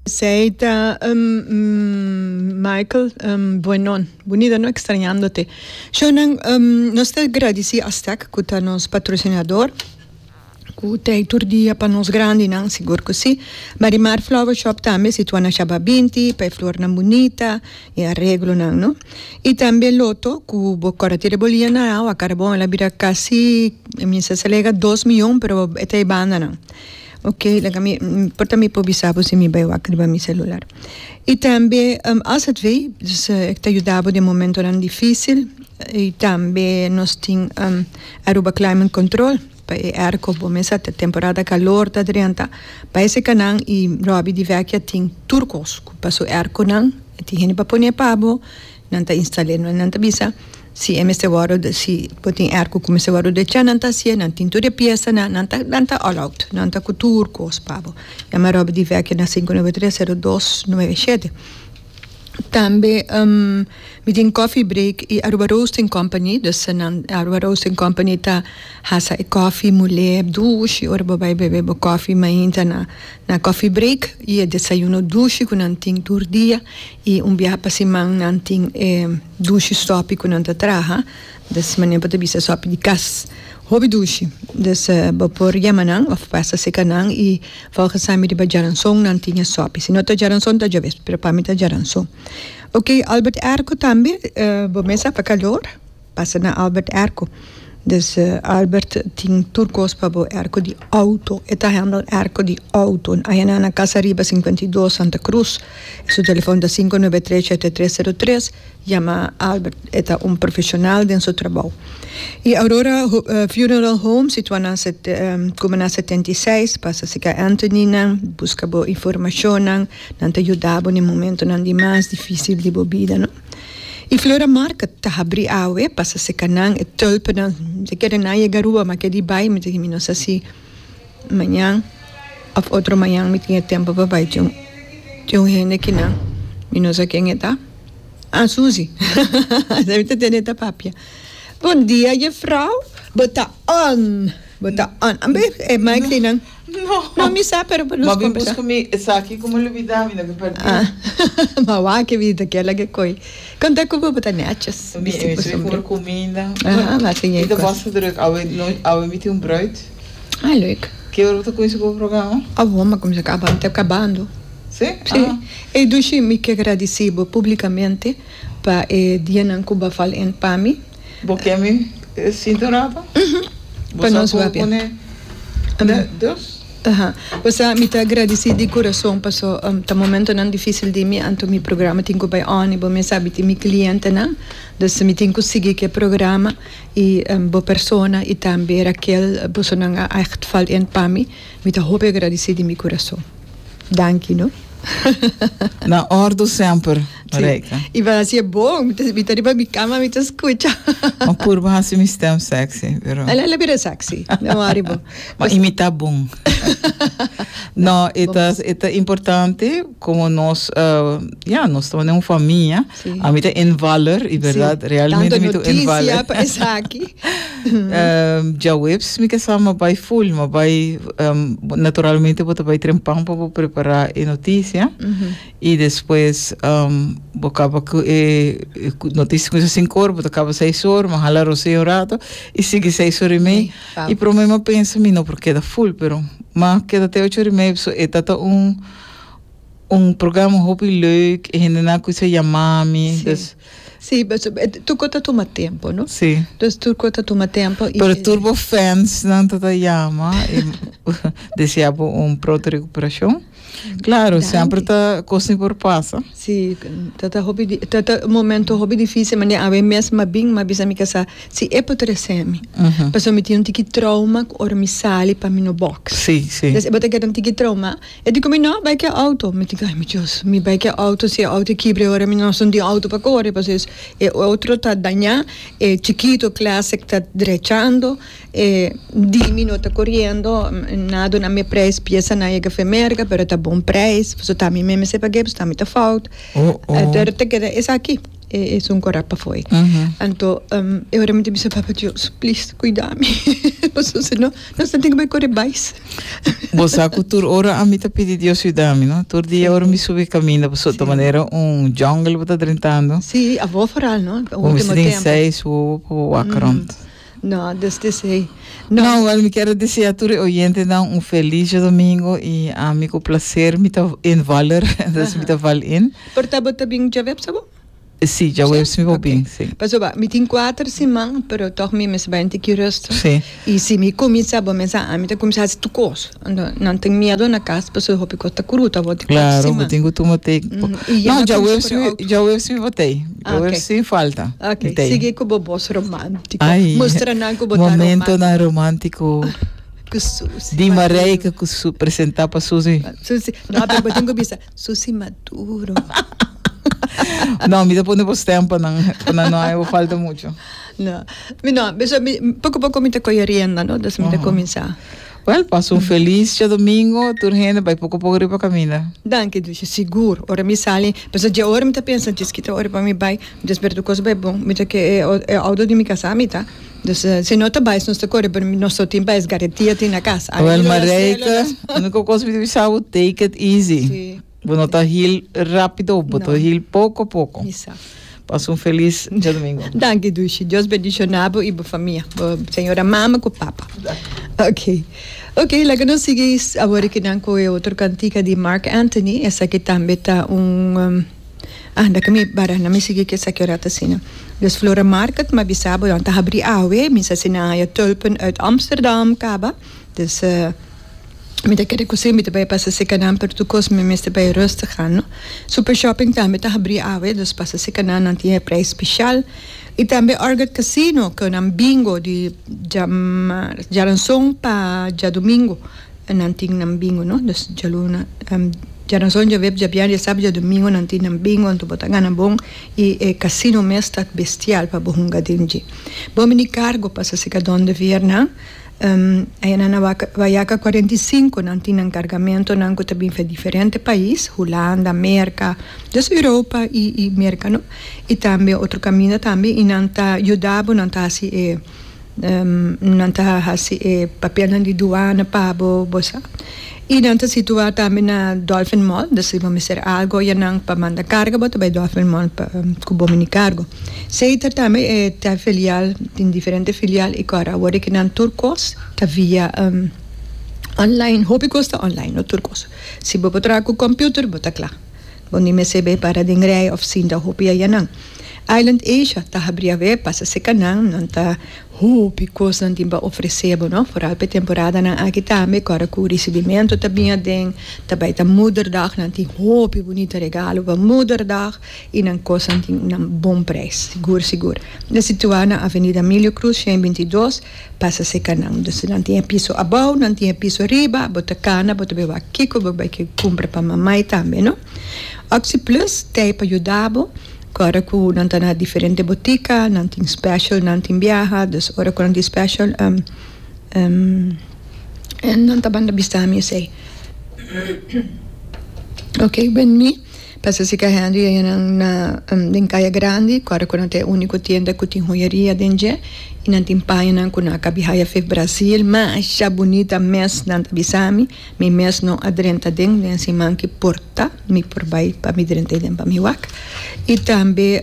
Esey ta Michael Buenon. Bunita no extrañándote. Shownan nos ta gradici Aztec cu ta nos patrocinador cu ta ey tur dia pa nos grandinan sigur cu si. Marimar Flower Shop tambe situa na Shaba binti pa e flornan bunita e areglonan no. Y tambe Lotto cu bo cora tira bo lia na awa carbon el a bira casi mi sa si a lega dos miyon pero e ta e bandanan. Ok, laga mi, por ta mi por bisa bo si mi bai wak riba mi celular. Y tambe AZV, dus e ta yuda bo den momentonan dificil. Y tambe nos tin Aruba Climate Control pa e airco. Bo mes sa ta temporada calor ta drenta. Bai esei nan y Robbie di Vecchia tin tur cos cu pa su airconan. E tin hende pa pone pa bo. Nan ta instal'é, nan ta bisa si e mester wòrdu, si bo tin airco ku mester wòrdu dechá, nan ta hasié, nan tin tur e piesanan, nan ta nan ta all out, nan ta ku tur kos pa bo. Yama Robert di Vecchio na sinku nuebe tres sero dos nuebe shete. Tambe mi tin Coffee Break i Aruba Roasting Company, dus nan Aruba Roasting Company ta hasa e kòfi mulé dushi ora bo bai bebe bo kòfi mainta na na Coffee Break i e desayuno dushi ku nan tin tur dia. I un biaha pa siman nan tin e dushi sòpi ku nan ta traha. Des manera bo ta bisa sòpi di kas. Hopi dushi. Des bo por yama nan òf pasa seka nan i volgens ami riba djaranson nan tin e sòpi. Si no ta djaranson ta djaves, pero pa mi ta djaranson. Oke, Albert Airco tambe bo mes a pa kalor. Pasa na Albert Airco. Dus Albert tin tur kos pa bo airco di auto. E ta handle airco di auto. Aya nan na Casa Riba 52 Santa Cruz. Su telefon ta 593 7303. Yama Albert. E ta un profesional den su trabou. Y Aurora Funeral Home situa na Cumana 76. Pasa cerca Anthony nan. Busca bo informacionnan. Nan ta yuda bo den momentonan di mas dificil di bo bida no. Y Flora Market ta habri awe pasa seca nan e tulpennan mi ta kere nan yega Aruba ma ke di bay mi ta di mi no sa si mañan of otro mañan mi tin e tempo pa bay tin un hende kinan mi no sa ken e ta ah Suzy mi ta tende ta papia bon dia juffrouw bo ta on bo ta on ambe e mic di nan. No. No, mi sa, pero pa nos Ma bin kombersa. buska mi esaki ku mi lubida, mi no ke pèrdí. Ah, ma wak e bida kela ke koi. Konta ku bo bo ta nètjes, Mi bisti mi bo sui sombré. for kuminda. Aha, ma siña Mi e ta kos. basta druk. Awe no, awe mi tin un bruid. Ah, leuk. Ke ora bo ta kuminsá ku bo programa? Awor mi a kuminsá kaba, mi ta kabando. Sí? Sí. Ah. Ey Dushi, mi ke gradisí bo públikamente pa e dianan ku bo a fal en pa mi. Bo ke mi sinta un rato? Bo Pa sa nos ku papia. pone dus? Aha. Bo sa mi ta gradisí di kurason paso ta momentonan difísil di mi anto mi programa tin ku bai on i bo mes sabi tin mi klientenan dus mi tin ku sigui ku e programa i bo persona i tambe Raquel bosonan a ègt val in pa mi. Mi ta hopi agradisí di mi kurason. Danki no. Na ordu semper, Marijke. Sí. I bo hasi e bon. Mi ta, mi ta riba mi kama, mi ta skucha. Ma purba hasi mi stem sexy, pero. El a bira sexy. No worry bo. Ma imita bon. No, e ta, e ta importante como nos, ya, nos ta un famia. Sí. Ami ta invaller, y verdad, realmente mi ta un invaller. Tanto noticia pa esaki. Djaweps mi ke sa mi a bai full, mi a bai naturalmente bo ta bai trempan pa bo prepara e noticia y despues bo kaba ku e noticia kuminsa sinku or bo ta kaba seis or, mi a hala rosea un rato y sigui seis or y mei y prome mi a pensa mi no por keda full pero mi a keda te ocho or y mei pasobra e ta ta un un programa hopi leuk e hendenan a kuminsa yama mi. Sí, tur kos ta tuma tempo, no? Sí. Dus tur kos ta tuma tempo y. Pero tur bo fansnan ta ta yama y desea bo un pronto recuperacion. Claro, semper ta cos ni por pasa. Sí, ta ta hopi ta ta un momento hopi dificil, manera awe mes m'a bin m'a bisa mi casa si e por trece mi. Pasobra mi tin un tiki trauma cu ora mi sali pa mi no box. Sí, sí. Dus e bo ta keda un tiki trauma. E di ku mi, No, bai ku e outo. Mi di ku, Ai mi Dios, mi bai ku e outo, si e outo kibra e ora mi no tin outo pa kore, pasobra e otro ta dañá, e chikito classic ta drechando, e di mi no ta koriendo, nan a duna mi e prijs, piesanan yega fe merka, pero ta bon prijs, pasobra ta mi mes mester pag'é, pasobra ta mi ta fout. Pero ta keda esaki. e esun kora pafó ei. Anto e ora mi ta bisa Papa Dios, please kuida mi pasobra si no nos ta tin ku bai kore bais. Bo sa ku tur ora ami ta pidi Dios yuda mi no, tur dia ora mi subi kaminda pasobra ta manera un jungle bo ta drentando. Sí, abo foral no, Bo mester tin seis wowo pa bo wak rond. No, desde esey. No. No, wel mi kier a desea tur e oyentenan un feliz djadomingo y ami cu placer mi ta invaller, dus mi ta val in. Por ta bo ta bin djaweps abo? Si, djaweps mi por bin, si. Pasobra mi tin cuater siman, pero tog mi mester bai un tiki rustig. Si. Y si mi cuminsa, bo mester sa ami ta cuminsa haci tur cos. Anto nan tin miedo na cas pasobra hopi cos ta cruta bo tin cuater siman. Claro, bo tin cu tuma tempo. No, djaweps mi, djaweps mi por tey. Djaweps sin falta. Ok, sigui cu bo bos romantico. Ay, Mustra nan cu bo ta romantico. Momentonan romantico. Cu Susi. Di Marijke cu su presenta pa Susi. Susi, no, pero bo tin cu bisa Susi Maduro. No, mi ta pone bo stem pa nan, pa nan no haya bo falta mucho. No, mi no, beso mi poco poco mi ta coge rienda, no, dus mi ta cuminsa. Wel, pasa un felis djadomingo, tur hende bai poko poko riba kaminda. Danki Dushi, sigur. Ora mi sali, pasobra dje ora mi ta pensa djis kita ora pa mi bai, mi ta spera tur kos bai bon. Mi ta ke e auto di mi kasá mi ta. Dus si no ta bai, nos ta kore, pero nos no tin pa es garantia tin na kas. Wel Marijke, uniko kos mi ta bisa bo, take it easy. Si. Bo no ta heal rapido, bo ta heal poko poko. Mi sa. Pasa un felis djadomingo. Danki Dushi. Dios bendiciona bo y bo famia. Bo señora mama cu papa. Ok. Ok, laga nos sigui awor aki nan cu e otro cantica di Marc Anthony. Esaki tambe ta un ah, laga mi bara, na mi sigui cu esaki ora ta asina. Dus Flora Market, mi a bisa bo, nan ta habri awe. Mi sa si nan haya tulpen uit Amsterdam caba. Dus. Mi ta kere ku si mi ta bai pasa seka nan pero tur kos mi mester bai rustig gaan no. Super shopping tambe ta habri awe dus pasa seka nan nan tin e prijs special y tambe Orchid Casino ku nan bingo di djaranson pa djadomingo nan tin nan bingo no dus djaluna djaranson djaweb djabièrnè djasabra djadomingo nan tin nan bingo anto bo ta gana bon y e casino mes ta bestial pa bo hunga den dje. Bo mini cargo pasa seka Don de Veer nan. Ayana na Wayaca 45 nan tin nan cargamentonan cu ta bin fe diferente pais, Hulanda, Merca, dus Europa y y Merca no, y tambe otro caminda tambe y nan ta yuda bo, nan ta haci e nan ta haci e papelnan di duana pa bo, bo sa. Y nan ta situa tambe na Dolphin Mall, dus si bo mester algo ayanan pa manda carga bo ta bay Dolphin Mall pa cu bo mini cargo. Seiter tambe e ta filial, tin diferente filial y kor awor di kinan tur kos ta via online, hopi kos ta online, no tur kos. Si bo por traha ku computer bo ta kla, bo ni mester bay para den rij of sinta hopi ayanan. Island Asia ta habri awe, pasa seka nan, nan ta hopi kos nan tin pa ofrece bo no, foral pa e temporadanan aki tambe kor ku risibimentu ta bin aden, ta bay ta moederdag, nan tin hopi bunita regalo pa moederdag. I nan kosnan tin nan bon prijs, sigur sigur. Ta situá na Avenida Emilio Cruz 122, pasa serka nan. Dus nan tin e piso abou, nan tin e piso riba, bo ta kana, bo ta bai wak kiko bo bai ke kumpra pa mamai tambe, no. Oxi Plus t'ei pa yuda bo, kòrda ku nan ta na diferente botika, nan tin special, nan tin biaha, dus ora ku nan tin special, nan ta banda bisa mi esei. Ok, ben mi. Pasa si ka Henry a nan na den Kaya Grandi, ku ora ku nan ta e úniko tienda ku tin hoyeria den dje i nan tin pañanan ku nan a kabi haya fe Brasil masha bunita mes nan ta bisa mi, mi mes no a drenta den den siman ki por ta mi por bai pa mi drenta den pa mi wak i tambe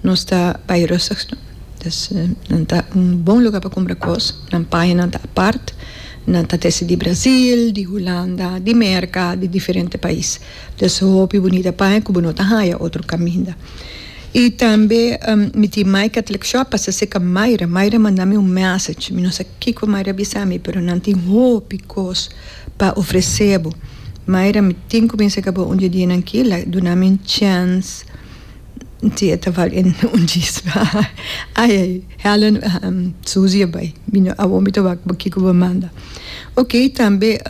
nos ta bai rustig no dus nan ta un bon luga pa kumpra kos nan pañanan ta apart nan ta trese di Brasil di Hulanda di Merka di diferente pais. Dus hopi bunita paña ku bo no ta haña otro kaminda. I tambe mi tin My Catholic Shop pasa serka Mayra. Mayra manda mi un message. Mi no sa kiko Mayra a bisa mi pero nan tin hopi kos pa ofresé bo. Mayra mi tin ku bin serka bo un di e dianan aki la duna mi un chèns si e ta val en un djis. Ai ai Helen Susie a bai. Mi no awor mi ta wak bo kiko bo manda. Ok tambe.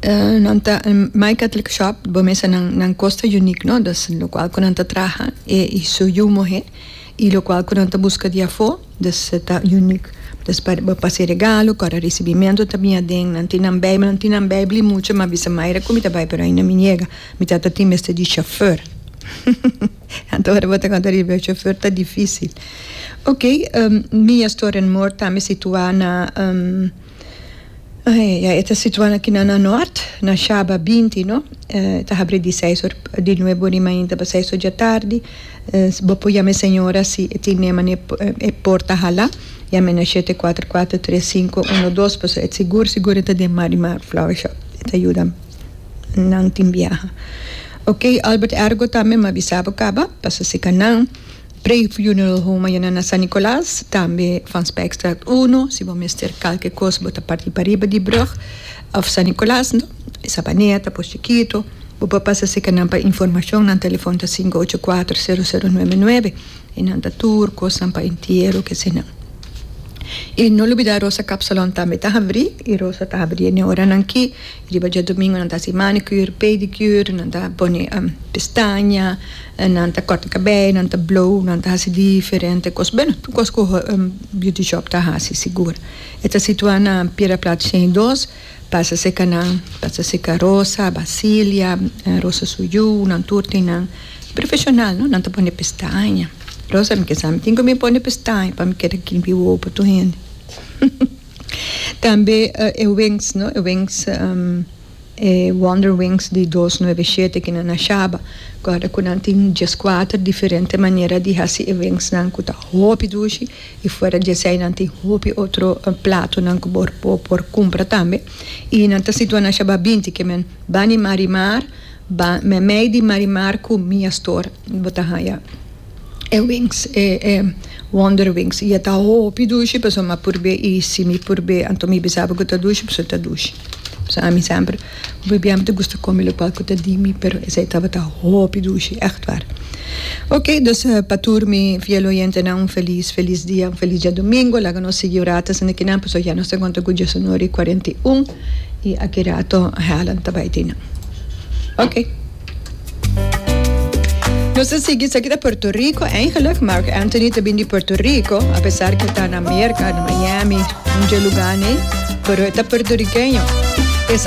Nan ta My Catholic Shop bo mester nan nan kos ta unique no dus lokual ku nan ta traha e i su yu muhé i lokual ku nan ta buska di afó dus e ta unique dus pa bo pasa e regalo ku ora risibimentu ta bin aden nan tin nan beibel nan tin nan beibel i mucha mi a bisa Mayra ku mi ta bai pero ainda mi yega mi tata tin mester di shofùr. Anto ora bo ta konta riba e chauffeur ta dificil. Ok, Mia Store and More tambe situa na ya e ta situa na kina na Noord, na Shaba binti no. E ta habri di seis or di nuebe or di mainta pa seis or djatardi. Bo por yama e señora si e tin ne mane e por ta hala. Yama na shete kuater kuater tres sinku uno dos pasobra e sigur sigur e ta den Marimar Flower Shop. E ta yuda nan tin biaha. Ok Albert Ergo tambe mi a bisa bo kaba pasobra si ka nan Prey Funeral Home a yena na San Nicolas tambe Van Spijkstraat uno si bo mester kalke kos bo ta parti pariba di brug of San Nicolas no e Sabaneta Pos Chikito bo por pasa seka nan pa informashon nan telefon ta sinku ocho kuater sero sero nuebe nuebe i nan ta tur kosnan pa entiero kese nan i no lubida Rosa Kapsalon tambe ta habri i Rosa ta habri e oranan ki riba djadumingu nan ta hasi manicure pedicure nan ta pone pestaña nan ta kòrta kabei nan ta blow nan ta hasi diferente kos bueno tur kos ku beauty shop ta hasi sigur e ta situa na Piedra Plat shen i dos. Pasa seca nan, pasa seca Rosa, Basilia, Rosa su yu, nan tur tin nan profesional no, nan ta pone pestaña. Rosa mi ke sa mi tin ku mi pone pestaña pa mi keda kimpi wowo pa tur hende. Tambe e wings no, e wings e Wonder Wings di dos nuebe shete ki nan a shaba. Kòrda ku nan tin dieskuater diferente manera di hasi e wingsnan ku ta hopi dushi. I fuera di esei nan tin hopi otro platonan ku bo bo por kumpra tambe. I nan ta situa na Shabá binti ke men bani Marimar, ba meimei di Marimar ku Mia Store bo ta haña e wings, e e Wonder Wings. I e ta hopi dushi pasobra mi a purb'é i si mi purb'é anto mi bisa bo ku ta dushi pasobra ta dushi. Pasobra ami semper hopi bia mi ta gusta kome lokual ku ta di mi pero esei tabata hopi dushi, ègt waar. Ok, dus pa tur mi fiel oyentenan un felis felis dia, un felis djadumingu. Laga nos sigui un rato asina kinan pasobra ya nos ta konta ku diesunora i kuarenta i un i aki rato Helen ta bai tin nan. Ok. Nos ta sigui esaki ta Puerto Rico eigenlijk. Marc Anthony ta bin di Puerto Rico apesar ku e ta na Merka, na Miami, un dje lugar nei, pero e ta puertorriqueño.